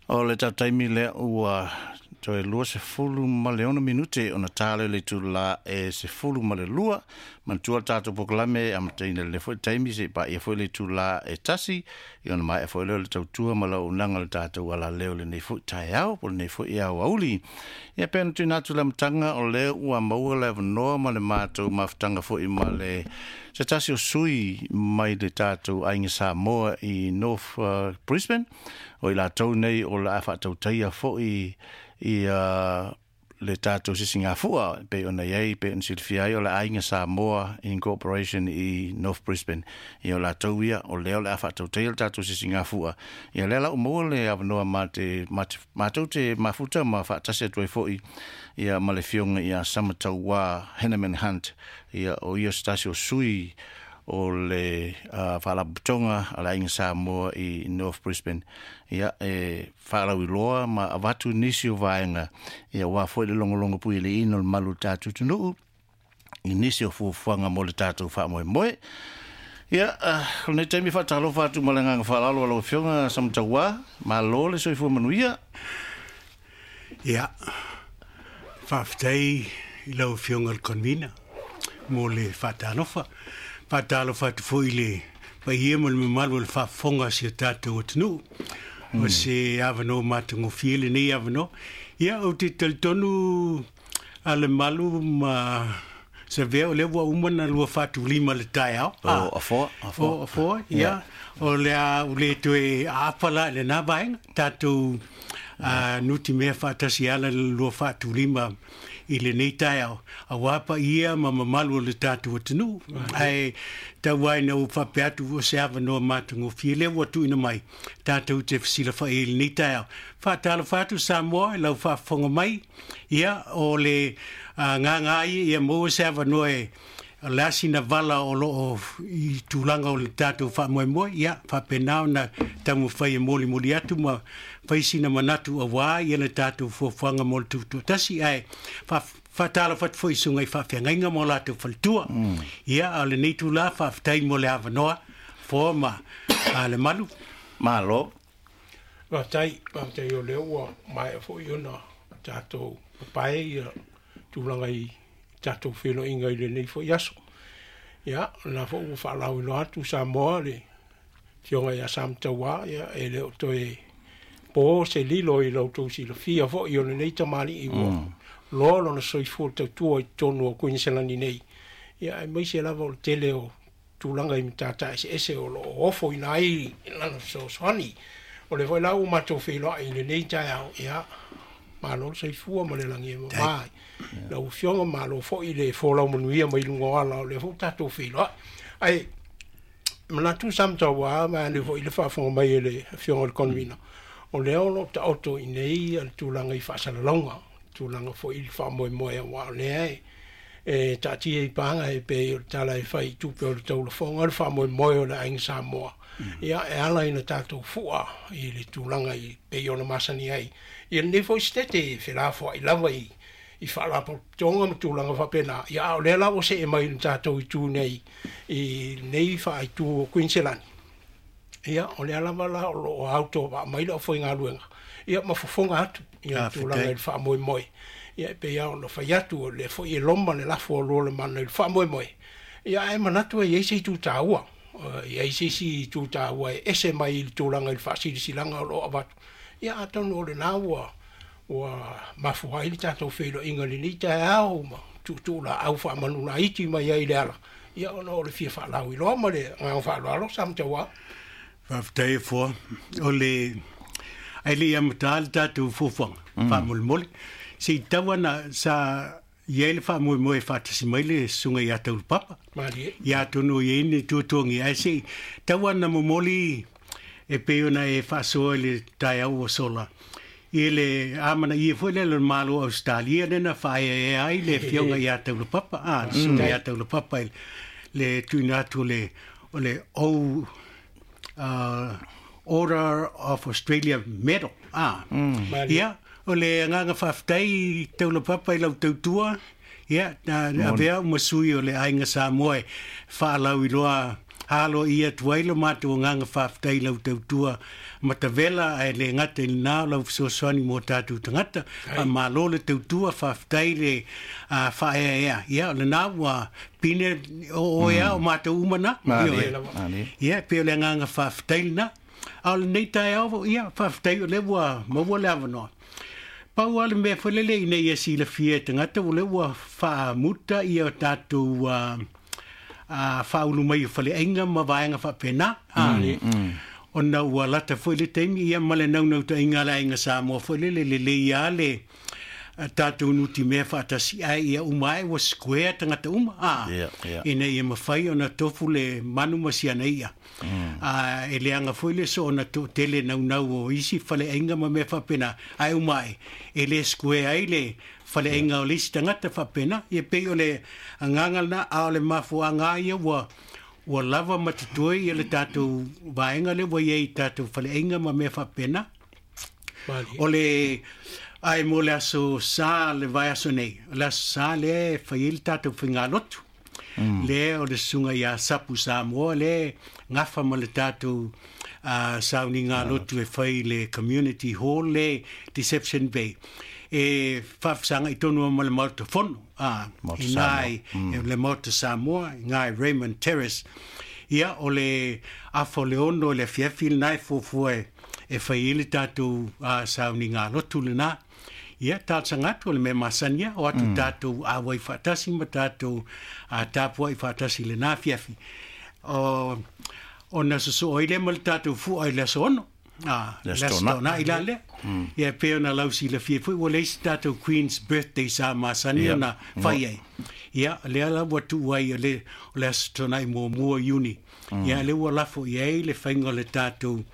O le tatou taimi lea ua toe 26 minute ona ta lea o le itula e 12. Manatua le tatou polokalame e amataina i le foi taimi seia paia foi le itula e 1, ia ona maea foi lea o le tautua ma le auaunaga a le tatou alaleo i lenei foi taeao po o lenei foi aoauli. Ia pei ona tuuina atu i le amataga, o lea ua maua le avanoa ma le matou mafutaga foi ma le se tasi o sui mai le tatou Aiga Samoa i North Brisbane, o i latou nei o le a faatautaia foi ia le tatou sisigafua e pei ona i ai, pei ona silafia ai o le Aiga Samoa Incorporation i North Brisbane. Ia o latou ia o lea o le a faatautaia le tatou sisigafua. Ia lea la ua maua le avanoa ma te, matou te mafuta ma faatasi atu ai foi ia ma le afioga ia Samatauā Henneman Hunt. Ia o ia se tasi o sui o le Faalapotopotoga a le Aiga Samoa i North Brisbane, ia e faalauiloa ma avatu nisi o vaega, ia aua foi le logologo puialiiina o le mamalu o le tatou atunuu i nisi o fuafuaga mo le tatou faamoemoe. Ia, o lenei taimi faatalofa atu ma le agaga faaaloalo a lau Afioga Samatauā, malo le soifua manuia. Ia, faafetai i lau Afioga i le Convener mo le faatalofa. Faatalofa atu foi i le paia ma le mamalu o le faafofoga a si o tatou atunuu. O se avanoa matagofie lenei avanoa. Ia, ou te talitonu a le malu ma Savea, o lea ua uma na lua faatulima le taeao. O afoa, afoa. O afoa, ia. O le a ua le toe aapa la i lena vaega. Tatou nutimea faatasi ala le lua faatulima i lenei taeao, aua paia ma mamalu o le tatou atunuu. Ae tau ai ina ou faapea atu o se avanoa matagofie lea ua tuuina mai tatou te fesilafai ai i lenei taeao. Faatalofa atu Samoa i lau faafofoga mai. Ia, o le agaga ia ia maua se avanoa e o le a sina vala o lo o i tulaga o le tatou faamoemoe, ia faapena ona taumafai e molimoli atu ma fai sina manatu aua ia le tatou fuafuaga mo le tutoatasi. Ae faatalofa atu foi i susuga i faafeagaiga ma o latou faletua. Ia, a o lenei itula, faafetai mo le avanoa, Foa ma Lemalu. Malo. Faafetai, faafetai o lea ua maea foi ona tatou papae ia tulaga i tatou feiloaiga i lenei foi aso. Ia, o lena foi ua faalauiloa atu Samoa le Afioga ia Samatauā, ia e le o toe po se lilo i lo outou silafia foi o lenei tamalii ua loa lona soifua tautua i totonu o Kuiniselani nei, ia aemaise lava o le tele o tulaga i matata eseese o lo o ofoina ai lana fesoasoani. O lea foi la ua matou feiloai i lenei taeao, ia, malo le soifua ma le lagi e mama lau Afioga, malo foi le folau manuia mai luga o ala, o lea foi ua tatou feiloai. Ae manatu Samatauā, vaeane foi le faafofoga mai e le Afioga i le Convener, o lea o lo o taoto i inei le tulaga i faasalalauga, tulaga foi i le faamoemoe, aua o lea e taatia i paga e pei o le tala e fai i tupe o le taulafoga le faamoemoe o le Aiga Samoa, ia e ala ina tatou fua i le tulaga i pei ona masani ai ia lenei foi setete e felafoai lava i faalapotopotoga ma tulaga faapena. Ia a o lea la ua see mai i le tatou itu nei i lenei faaitu o Kuiniselani, ia o lea lava la o lo o autovaa mai le aufaigaluega ia ma fofoga atu ia tulaga i le faamoemoe. Ia e pei lava ona fai atu, o lea foi e loma le lafo a Lualemana i le faamoemoe, ia ae manatu e i ai se itu taua, e i ai se isi itu taua e ese mai i le tulaga i le faasilasilaga o lo o avatu. Ia atonu o lena ua mafua ai le tatou feiloaiga i lenei taeao ma tuutuu laau faamanulaiti mai ai i le ala, ia ona o le fia faalauiloa ma le agaga faaaloalo Samatauā. Faafetai e Foa. O le ae le i amata le tatou fuafuaga, faamolemole, se i tau ana sa i ai le faamoemoe e faatasi mai le susuga ia Taulapapa. Malie. Ia atonu o i ai ni tuatuagia, ae se i tau ana momoli e pei ona e faasoa i le taeao ua sola i le amanaia foi lea o le Malo o Ausetalia lea na faaeaea ai le afioga ia Taulapapa, a, le susuga ia Taulapapa i le tuuina atu o le Order of Australia Medal. A. Ia, o le agaga faafetai Taulapapa i lau tautua, ia, na avea au ma sui o le Aiga Samoa e faalauiloa Alo ia atu ai lo matou agaga faafetai i lau tautua matavela ae le gata i lena o lau fesoasoani mo tatou tagata. Faamalo le tautua, faafetai le faaeaea. Ia o lena ua pine o oe a o matou uma na. Ioe. Ia e pei o le agaga faafetai lena. A o lenei taeao, ia faafetai o lea ua maua le avanoa. Pau lava le mea foi lele ina ia silafia e tagata o lea ua faamuta ia tatou faaulu mai o faleaiga ma vaega faapena. Ona ua lata foi le taimi ia ma le naunautaiga a le Aiga Samoa foi lele lelei lava le tatou nutimea faatasi ae ia uma ae ua square tagata uma ina ia mafai ona tofu le manu ma siana i'a. E leaga foi le soona toatele naunau o isi faleaiga ma mea faapena ae uma ae e le square ai le faleaiga o le isi tagata faapena. Ia pei o le agaga lena, a o le mafuaaga lava ia ua lava ma totoe ia le tatou vaega lea ua i ai i tatou faleaiga ma mea faapena. O le ae mo le aso Sa le vaiaso nei, o le aso Sa lea e fai ai le tatou faigalotu. Lea o le susuga ia Sapu Samoa lea e gafa ma le tatou sauniga lotu e fai i le Community Hall lea i Deception Bay. E faafesagai tonu ma le Maota Fono, i ina i le Maota Samoa, i ina i Raymond Terrace. Ia, o le afa o le 6 i le afiafi lena e fuafua e fai ai le tatou sauniga lotu lena. Ia, talosaga atu, o le mea masani lava, o atu tatou auai faatasi ma tatou tapuai faatasi i lena afiafi. Ona sosoo ai lea ma le tatou fua i le aso 6. Le aso Toonai la lea. Ia, e pei ona lausilafia foi, ua leai se tatou Queen's Birthday sa masani ona fai ai. Ia, o lea la ua tuu ai o le aso Toonai muamua o Iuni. Ia, lea ua lafo i ai le faiga o le tatou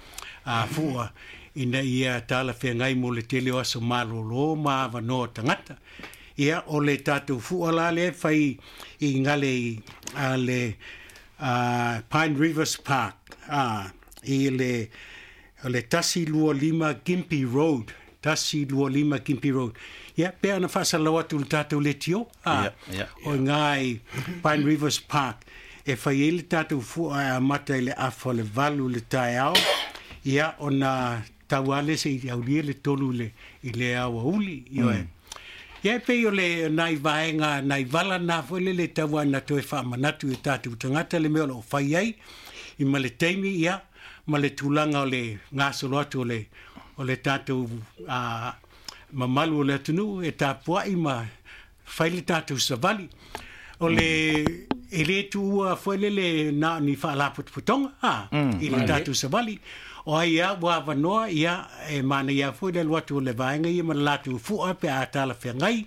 fua ina ia talafeagai mo le tele o aso malolo ma avanoa o tagata. Ia, o le tatou fua la lea e fai i gale i le Pine Rivers Park, i le 125 Gympie Road, 125 Gympie Road. Ia, pe ana faasalalau atu i le tatou leitio, o i ina i Pine Rivers Park, e fai ai le tatou fua e amata i le afa o le 8 i le taeao, ia, ona tau lava lea seia aulia le 3 i le aoauli. Ioe. Ia, e pei o le nai vaega, nai vala na foi lele e tau lava ina toe faamanatu i o tatou tagata le mea o lo o fai ai, i ma le taimi, ia, ma le tulaga o le gasolo atu o le tatou mamalu o le atunuu e tapuai ma fai le tatou savali. O le e le tuua foi lele na o ni faalapotopotoga i le tatou savali. O ai lava ua avanoa, ia, e manaia foi le alu atu o le vaega ia ma le latou fua pe a talafeagai,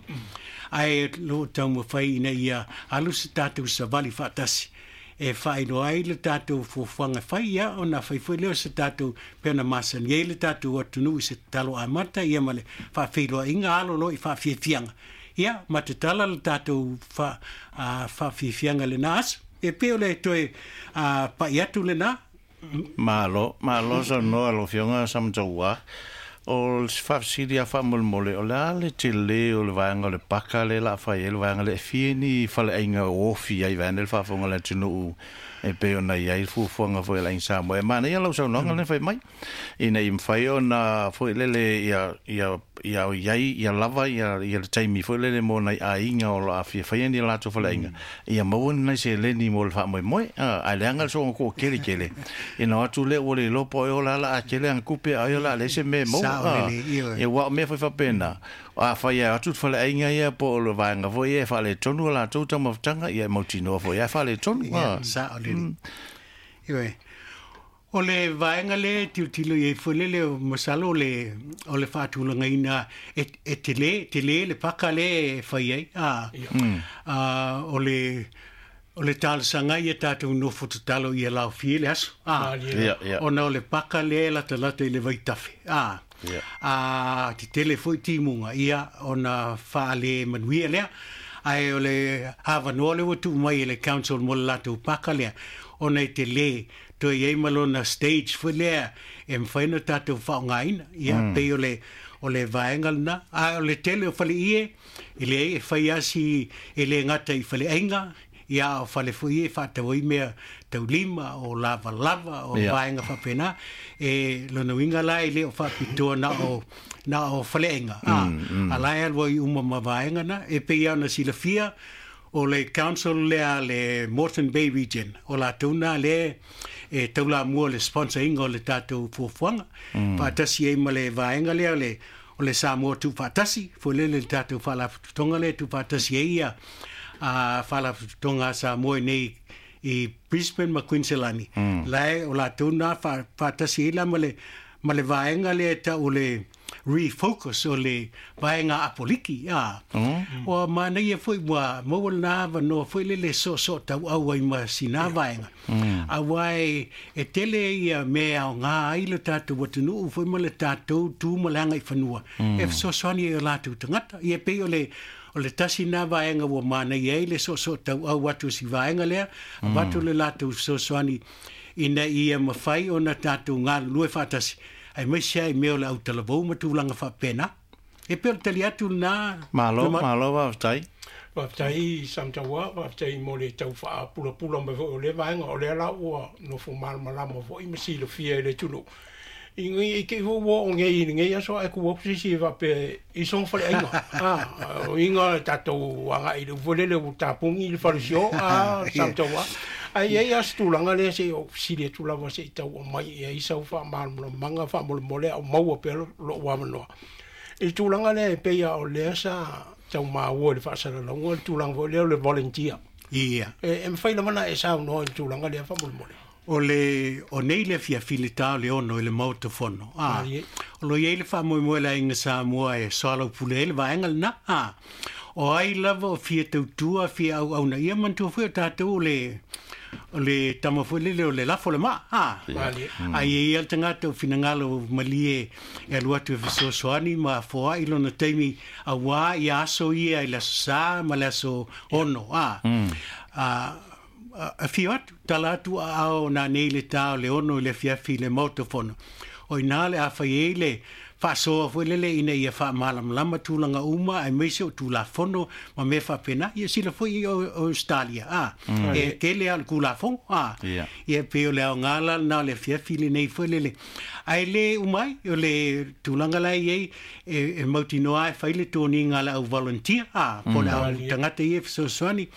ae o lo o taumafai ina ia alu se tatou savali faatasi e faailoa ai le tatou fuafuaga fai, ia, ona fai foi lea o se tatou pei ona masani ai le tatou atunuu i se tatalo amata, ia, ma le faafeiloaiga alo loa i faafiafiaga, ia, ma tatala le tatou faafiafiaga lena aso. E pei o le toe pai atu lena. Malo, malo saunoa lau Afioga Samataua. O se faafesili lava faamolemole, o le a le tele o le vaega o le paka lea o le a fai ai le vaega lea e fia ni faleaiga o ofi ai vaeane le faafofoga a le atunuu e pei ona i ai le fuafuaga foi a le Aiga Samoa. E manaia lau saunoaga lea na fai mai ina ia mafai ona foi lele ia i ai ia lava ia le taimi foi lele mo nai aiga o lo o fia faia ni latou faleaiga ia maua ni nai seleni mo le faamoemoe, ae leaga le soona toateletele ina o atu lea ua le iloa po o ai o la a tele ana tupe a ai o le a leai se mea e maua. Ia, aua o mea foi faapena, afai e atu le faleaiga ia po o le vaega foi ia e faaletonu a latou taumafataga, ia e mautinoa foi lava e faaletonu. Sao lelei. Ioe. O le vaega lea e tilotilo i ai foi lele, masalo o le faatulagaina e tele, tele le paka lea e fai ai. O le talosaga ia tatou nofo tatalo ia laofie le aso. Ona o le paka lea e latalata i le vaitafe. A tetele foi timuga, ia, ona faale manuia lea. Ae o le avanoa lea ua tuu mai e le council mo le latou paka lea, ona e tele, toe i ai ma lona stage foi lea e mafai ona tatou faaaogaina. Ia, pei o le vaega lena. A o le tele o faleie, e leai, e fai lava si e le gata i faleaiga, Ia o fale foi e whaatau ai mea taulima o lava lava o vaenga whapena e lona winga la e le o whapitoa na o faleenga. A la e alua i uma ma vaenga na e pe ia na silafia o le council lea le Moreton Bay Region o la tuna le e taula mua le sponsor inga o le tātou fuafuaga faatasi ai ma le vaega lea le o le Samoa Tuufaatasi foi lele le tātou faalapotopotoga lea tuufaatasi ai ia a faalapotopotoga a Samoa nei i Brisbane ma Queensland lae o latou na faatasi ai la ma le vaega lea tau o le refocus o le vaega apoliki a o manaia foi ua maua lena avanoa foi lele soosoo tauau ai ma sina vaega auā e tele ia mea e aogā ai le tatou atunuu foi ma le tatou tu ma le agaifanua e fesoasoani ai o latou tagata ia pei o le tasi na vaega ua manaia ai le soosoo tauau atu o si vaega lea avatu le latou fesoasoani ina ia mafai ona tatou galulue faatasi ai maise ai mea o le autalavou ma tulaga faapena e pei o le tali atu lena. Malo, malo faafetai. Faafetai Samataua, faafetai mo le tau faapulapula mai foi o lea vaega o lea la ua nofo malamalama foi ma silafia e le atunuu. I te i foi ua oo nei i lenei aso ae tu atu se isi e faapea i soga faleaiga. O iga tatou agai i le upu foi lele ua tapuni le falesio Samataua. Ae i ai lava se tulaga lea se i ou fesili atu lava se i tau aumai i ai sau faamalamalamaga faamolemole a o maua pea lou avanoa. I le tulaga lea e pei lava o lea sa tau maua i le faasalalauga le tulaga foi lea o le volunteer. Ia. E mafai lava ona e saunoa i le tulaga lea faamolemole. O le o nei le afiafi i le ta o le 6 i le Maota Fono. O lo o i ai le faamoemoe a le Aiga Samoa e soalaupule ai le vaega lena. O ai lava o fia tautua, fia auauna ia manatua foi o tatou o le o le tama foi lele o le lafo le maa. A i ai lava le tagata o finagalo malie e alu atu e fesoasoani ma foai lona taimi auā ia aso ia i le aso Sa ma le aso 6. Afio atu, tala atu aao nanei i le ta o le 6 i le afiafi i le Maota Fono. O i ina le a fai ai le faasoa foi lele ina ia faamalamalama tulaga uma aemaise o Tulafono ma mea faapena. Ia sila foi i Ausetalia, e tele lava o le Tulafono, Ia pei o le aoga la lena o le afiafi lenei foi lele. Ae le uma ai, o le tulaga la e i ai, e mautinoa e fai le toniga a le au volunteer, po o le au tagata ia e fesoasoani,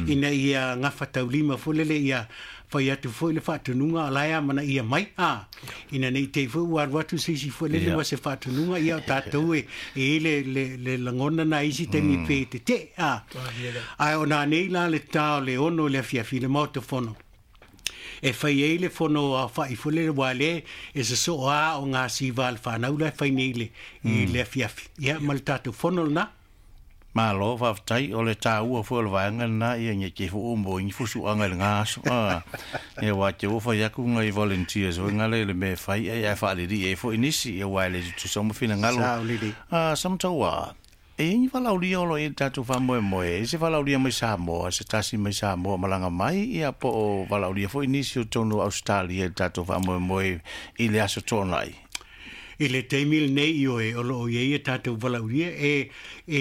ina ia gafataulima foi lele ia fai atu foi le faatonuga o la e amanaia mai, ina ne i te i foi ua alu atu se isi foi lele ma se faatonuga, ia o tatou e i ai le lagona na i isi taimi pe tetee, Ae o nanei la le ta o le 6 i le afiafi i le Maota Fono e fai ai le fono aofa'i foi lele ua lea e sosoo a o ngā siva a le whanau la e fai nei i le afiafi. Ia, ma le tātou fono lena. Malo, faafetai, o le taua foi o le vaega lena ia nei te foi mo ni fusuaga i lena aso. Ia aua te ua fai atu nai volunteers foi ngale i le mea e fai ai ae faalelii ai foi nisi, ia aua e le tutusa uma finagalo. Sao lelei. Samataua, e i ai ni valaaulia o lo o i ai i le tatou faamoemoe, e i ai se valaaulia mai Samoa, se tasi mai Samoa malaga mai, ia po o valaaulia foi nisi o totonu o Ausetalia i le tatou faamoemoe i le Aso Toonai? I le taimi lenei, ioe, o lo o i ai a tatou valaaulia, e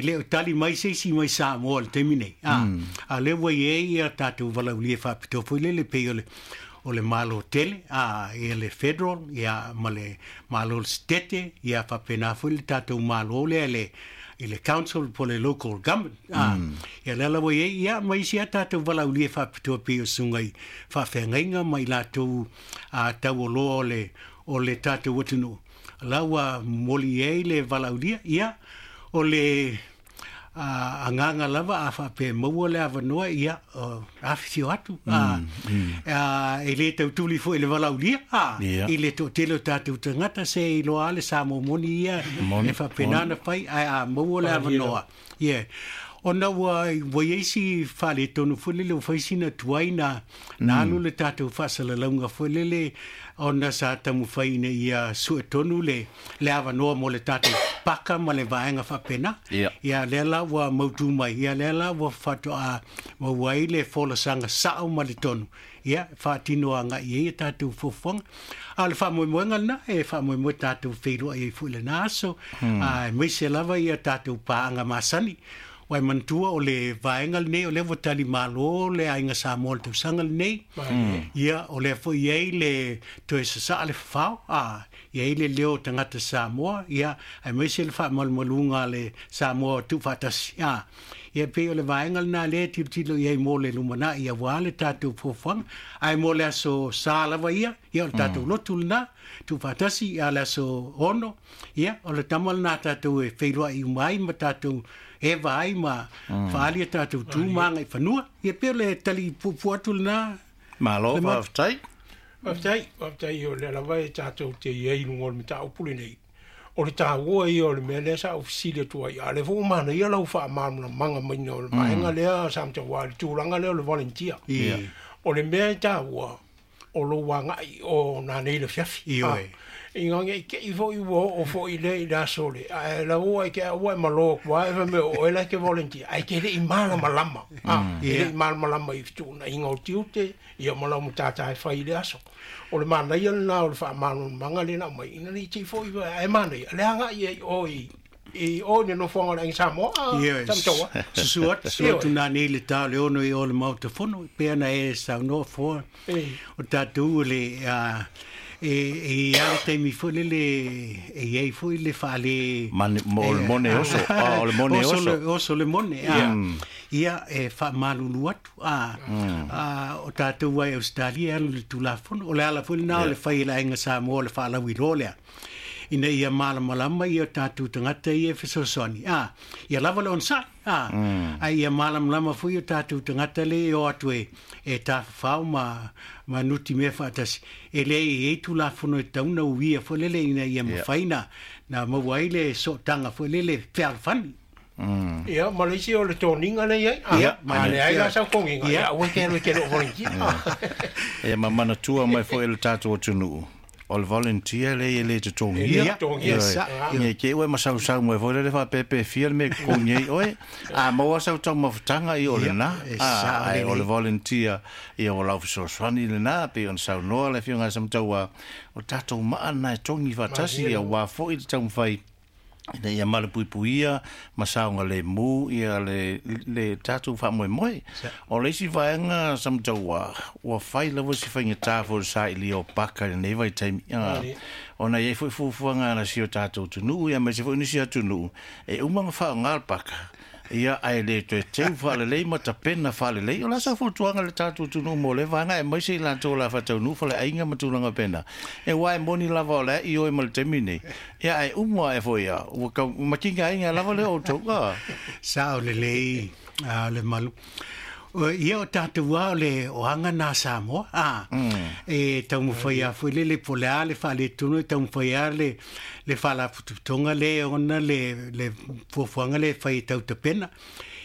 le o tali mai se isi mai Samoa i le taimi nei, a o lea ua i ai a tatou valaaulia faapitoa foi lele pei o le o le Malo tele, ia le Federal, ia ma le Malo o le Setete, ia faapena foi le tatou Malo lea i le Council po o le Local Government, ia lea la ua i ai, ia ma isi a tatou valaaulia faapitoa pei o susuga i faafeagaiga ma i latou taualoa o le tatou atunuu, la ua momoli i ai le valaaulia, ia, o le agaga lava a faapea e maua le avanoa, ia, afifio atu, e le tautuli foi i le valaaulia, i le toatele o tatou tagata, se i iloa lava le Samoa moni ia e faapena ona fai, ae a maua le avanoa, ia, ona ua i ai si faaletonu foi lele, ua fai sina tuai na alu le tatou faasalalauga foi lele, ona sa taumafai ina ia sue tonu le avanoa mo le tatou paka ma le vaega faapena. Ia lea la ua mautu mai, ia lea la ua faatoa maua ai le folasaga sao ma le tonu, ia faatino agai i ai a tatou fuafuaga. A o le faamoemoega lena, e faamoemoe tatou feiloai ai foi i lena aso, aemaise lava ia tatou paaga masani. Wai manatua o le vaega lenei o lea ua talimalo le aiga Samoa i le tausaga lenei. Ia o lea foi i ai le toe sasaa le fafao, i ai le leo o tagata Samoa, ia aemaise le faamalumaluga a le Samoa tuufaatasi. Ia pei o le vaega lena lea e tilotilo i ai mo le lumanai aua le tatou fuafuaga. Ae mo le aso Sa lava ia, ia o le tatou lotu lena, tuufaatasi, a o le aso 6, ia o le tama lena tatou e feiloai uma ai ma tatou eva ai ma faaali a tatou tu ma agaifanua. Ia pei o le tali puupuu atu lena. Malo, faafetai. Faafetai, faafetai o lea lava e tatou te i ai i luga o le mataupu lenei. O le taua ia o le mea lea sa ou fesili atu ai, a o lea foi ua manaia lau faamalamalamaga maina o le vaega lea sa mataua i le tulaga lea o le volunteer. O le mea e taua, o lou agai o nanei le afiafi. Ina ne i te i foi ua oo foi lea i le aso le, ae lau ua e te au ua e malo atu lava e fai mai o oe la e te volunteer, ae te le i malamalama, e le i malamalama i fetuunaiga o tiute, ia ma lau matata e fai i le aso. O le manaia lena o le faamalamalamaga lea na aumai, ina ne i te i foi ae manaia le agai ai oe i o i le nofoaga o le Aiga Samoa, sa mataua. Susu atu, susu atu nanei le ta o le 6 i o le Maota Fono, pei ona e saunoa foa, o tatou o le, e i ai le taimi foi lele e i ai foi le faale... O le mone oso, o le mone oso. Oso le mone, ia e faamalulu atu, o tatou ai Ausetalia e alu i le Tulafono, o le ala foi lena o le fai e le Aiga Samoa o le faalauiloa lea, ina ia malamalama ia tatou tagata ia e fesoasoani, ia lava le onosai, ae ia malamalama foi o tatou tagata le e o atu e tafafao ma nuti mea faatasi, e le i ai Tulafono e tatau ona uia foi lele ina ia mafai na maua ai le sootaga foi lele fealofani. Ia, ma le isi o le toniga lea e i ai. A leai la sau toniga, ia aua e te alu e te le o volunteer. Ia, ma manatua mai foi e le tatou atunuu, o le volunteer le e le totogia. Ia, ke ue masausau mai foi le whaapepe fia le me totogia i oe. A maua sau taumafataga i o lena. Ai o le volunteer ia o lau fesoasoani lena, pe ona saunoa le afioga ia Samataua, o tatou maa na e togi faatasi ia ua foi le taumafai ina ia malapuipuia ma saoga lemu ia le tatou faamoemoe. O le isi vaega Samataua, ua fai lava si faigata foi le sailia o paka i lenei vaitaimi. Ona i ai foi fuafuaga a si o tatou atunuu, ia aemaise foi nisi atunuu, e uma ona faaaoga le paka, ia ae le toe teu faalelei ma tapena faalelei. O la sa fuatuaga le tatou atunuu mo le vaega, aemaise i latou o le a faataunuu faleaiga ma tulaga pena. E ua e moni lava o le i oe ma le taimi nei. Ia ae uma e foi ia, ua kau makinga aiga lava le outou. Sao lelei le malu. Ia o tatou a o le oaga nā Samoa, e taumafai a foi le po le a le faaletonu, e taumafai a le faalapotopotoga le ona le fuafuaga le fai e tautapena.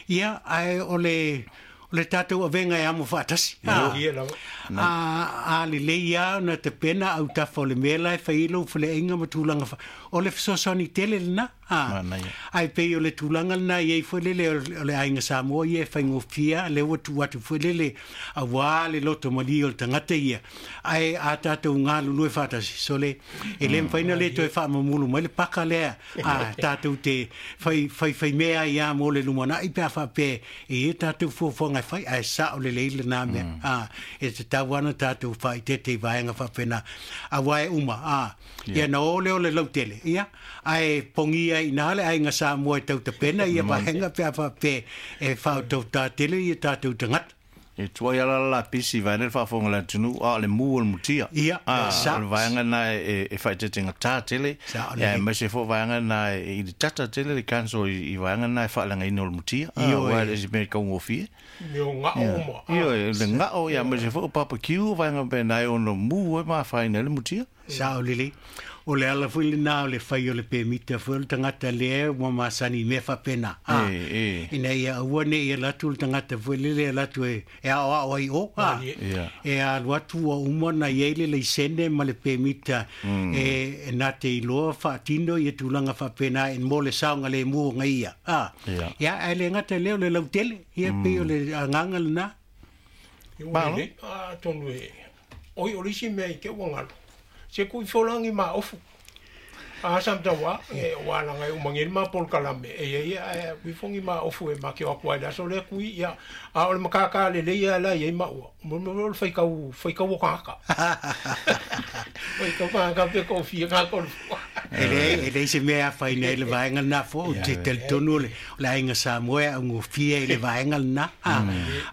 Ia ae o le tatou avega e amo faatasi. A lelei a ona tapena autafa o le mea la e fai ai lou faleaiga ma tulaga o le fesoasoani tele lena. Ae pei o le tulaga lena i ai foi lele o le aiga Samoa ia e faigofia le ua tuu atu foi lele auā le loto malie o le tagata ia. Ae a tatou galulue faatasi, sole, e le mafai ona le toe faamamulu mai le paka lea a tatou te faifaimea ai a mo le lumanai pe a faapea e ia tatou fuafuaga e fai, ae sao lelei lena mea. E tatau ana tatou faaitete i vaega faapena, auā e uma. Ia na o lea o le lautele, ia, ae pogia i nā le aiga Samoa e tautapena ia vaega pe a faapea e faautautā tele ia tatou tagata. E tuai ala la pisi vai le faafofoga le atunuu, a o le mu o le mutia. Ia, o le vaega na e faaeteetega tele, ia aemaise foi vaega na i le tata tele le council i vaega na e faaleagaina o le mutia. Aua e le isi mea e kaugofie. Mea o ngao uma. Ia, le ngao, ia aemaise foi o barbecue o vaega pena e ono mu e mafaina le mutia. Sao lelei. O le ala foi lena o le fai o le pemita foi o le tagata lea ua masani i mea faapena. Ina ia aua ne i alu atu le tagata foi lele e alu atu e aoao ai o. E alu atu ua uma ona i ai le laisene ma le pemita e na te iloa faatino ia tulaga faapena e mo le saogalemu o gaia. Ia, ae le gata lea o le lautele, ia pei o le agaga lena. Ua lelei, atonu e oi o le isi mea i te ua galo. Se kui folagi ma ofu. A sa mtawa e wala ngai umangel ma pol kalame e ia ia wi fongi ma ofu e ma ke o kwa la so le kui ia a o le makaka le le ia la ia ma ua mo mo fai kau o ka fai kau ka pe ko fi ka ko e le se mea fai nei le vaenga na fo te tonu le la inga Samoa ngo fia le vaenga na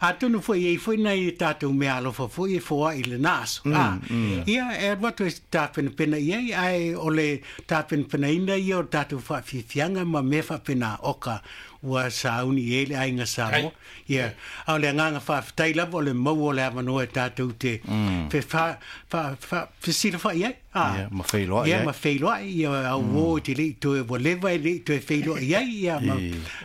a tonu foi e foi nei tatou mea alofa foi e foa i le naso ia e watu e tapenapena i ai ai o le tapenapenaina ia o tatou faafiafiaga ma mea faapena oka ua sauni i ai le aiga Samoa. Ia a o le agaga faafetai lava o le maua o le avanoa e tatou te fesilafai ai ma feiloai ia ma feiloai ia auō i te le'i toe ua leva e le'i toe feiloai ai ia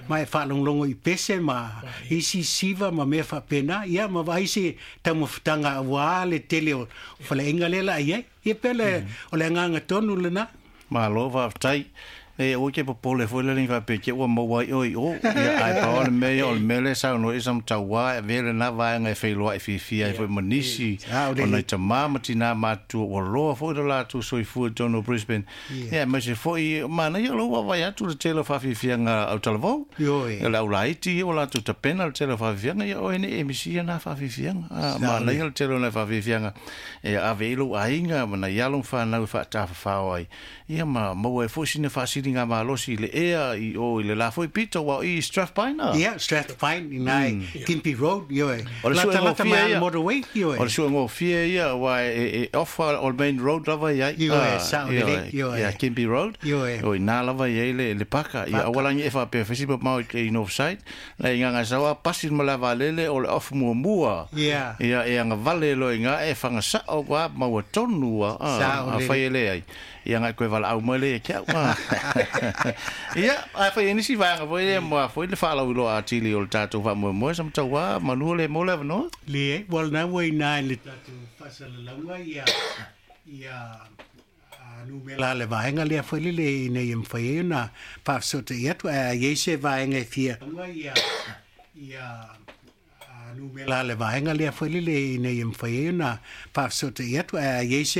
ma e faalogologo i pese ma isi siva ma mea faapena ia ma vaai se taumafataga auā le tele o faleaiga lea laai ai ia pele o le agaga tonu lena. Malo faafetai. E o ke popole foi le linga pe ke ua maua i oi o ia ai pa o le mea o le mele sa no i sam taua e vele na vaenga e feiloa e fiafia ai foi ma nisi o nai tamā ma tinā matua ua loa foi le latou soifua i totonu o Brisbane. Ia aemaise foi manaia o lou vaavaai atu le tele o faafiafiaga au talavou o le aulaiti ia ua latou tapena le tele o faafiafiaga ia oe nei e misia na faafiafiaga manaia le tele o nai faafiafiaga e ave i lou aiga ma nai alo ma fanau e faatafafao ai ia ma maua ai foi sina faasiliga ngā malosi le ea i o i le la foi pito wa i Strathpine. Ia Strathpine i nai Gympie Road ioe. O le lata mai motorway ioe. O le suegofie ia wa e off o le main road lava i ai. Ioe sao lelei ioe. Ia Gympie Road. Ioe. O i nā lava i ai le paka ia aualagi e faapea fesi mamao i Northside le igaga saoa pasi ma le avalele o le off muamua. Ia ia e agavale loa iga e fagasao ua maua tonu a fai e le ai. Ia ngai koe valaau mai le ke au. Ia a fai nisi vaega foi le ma foi le faalauiloa atili o le tatou faamoemoe sa matauā manua le mo le avanoa. Le ua lena ua inā i le tatou faasalalauga ia ia numera le vaega lea foi lele ina ia mafai ai ona faafesota'i atu ae a iai se vaega e fia ia ia numera le vaega lea foi lele ina ia mafai ai ona faafesota'i atu ae a iai se